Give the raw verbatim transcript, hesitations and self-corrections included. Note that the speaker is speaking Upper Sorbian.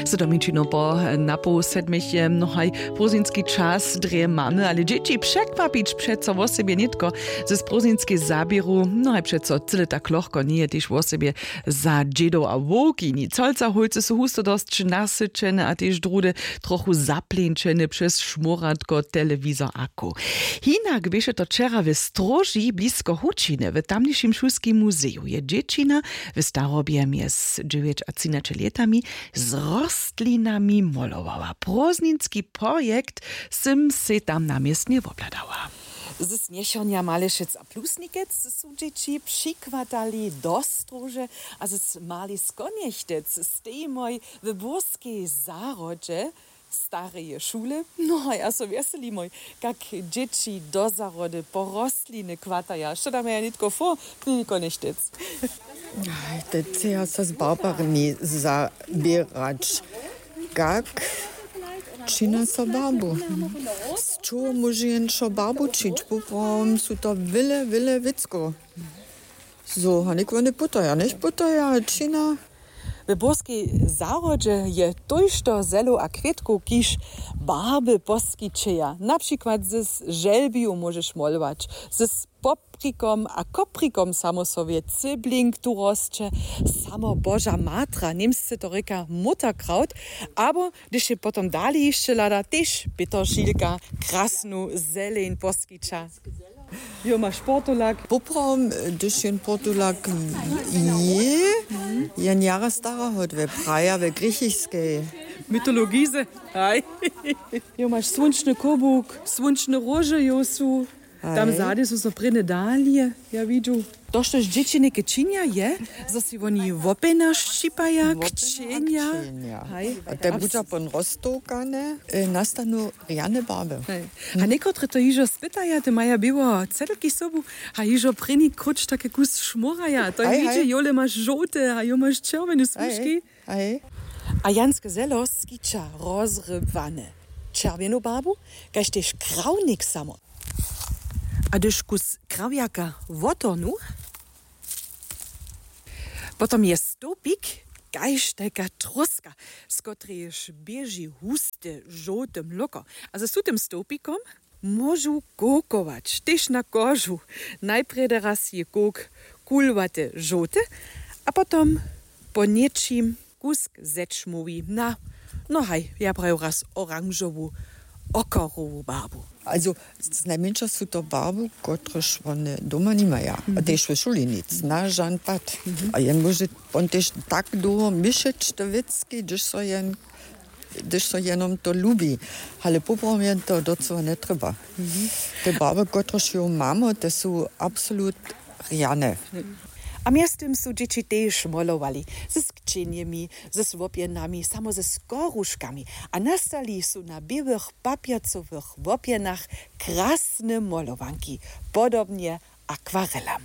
Sydomičinu po napoł sedmich je mnohaj prózdninski čas drje mamy, ale dźěći překwapić přeco wosebje nětko z prózdninskej zaběru mnohaj přeco cyle tak lochko njeje tež wosebje. Za dźědow a wowki nic holca holcy su husto dosć nasyćene a tež druhdy trochu zapleńčene přez šmóratko telewizor a kow. Hinak běše to wčera w stróži blisko hučiny w tamnišim šulskim muzeju je dźěćina w starobje mjez dźewjećatřinaće lětami z rostlinami molowała. Prózdninski projekt sym sej tam na městnje wobhladała. Z směchornja malešec a plusnikec su dźěći přichwatali do stróže a z mali skonjechtec stejimoj w burskej zahrodźe stareje šule. No a ja so wjeselimoj, kak dźěći do zahrody po rostliny chwataja. Što tam ja nětko fo, knili konjechtec. Te chceja so z barbarmi zaběrać. Kak čina so barbu? Z čoho móže jen šo barbu čić? Poprawom su to wyle wyle wěcko. Zo hanik wone putoja njech putoja čina. W burskej zahrodźe je tójšto zelow a kwětkow kiž barby poskićeja na přikład z želbiju móžeš molować z poprikom a koprikom samo so wě cybling tu rosće. Samo boža matra němsce to rěka mutterkraut. Abo hdyž je potom dali hišće hlada tež pětošilka krasnu zeleń poskića. Jo maš portulak. Poprawom hdyž jen portulak je jen jara stara hodwy praja we grěchiskej mytologize. Haj. Jo maš słónčny kobuk, słónčne róže jo su. Tam zady su so prěnje dalije. Ja widźu to štož dźěći něke činja je zo si woni wopjena šćipaja kćenja. A te budźa pon roztołkane nastanu rjane barby. A někotre to hižo spytaja te maja běło cedlki sobu. A hižo prěni króć take kus šmóraja to je widźe jole maš žołte a jo maš čerwjene smužki. A janske zelo skića rozrybłane čerwjenu barbu kaž tež krawnik samo. A hdyž kus krawjaka wotornu potom je stołpik kaž tajka tróska z kotrejež běži huste žołte mloko. A ze su tym stołpikom móžu kowkować tež na kožu. Najprjedy raz je kowk kulwate žołte a potom po něčim kusk zečmowi na no haj ja praju raz oranžowu okorowu barbu. Znajmjeńša su to barbu kotrež wone doma nimaja a tež w šuli nic na žan pad. A jen móže won tež tak dołho měšeć te wěcki hdyž so jen hdyž so jenom to lubi. Ale poprawom jen to docyła njetrjeba. Te barby kotrež jo mamy te su absolut rjane. A mjeztym su dźěći tež molowali z skćenjemi z wopjenami samo ze skoruškami a nastali su na běłych papjacowych wopjenach krasne molowanki podobnje akwarelam.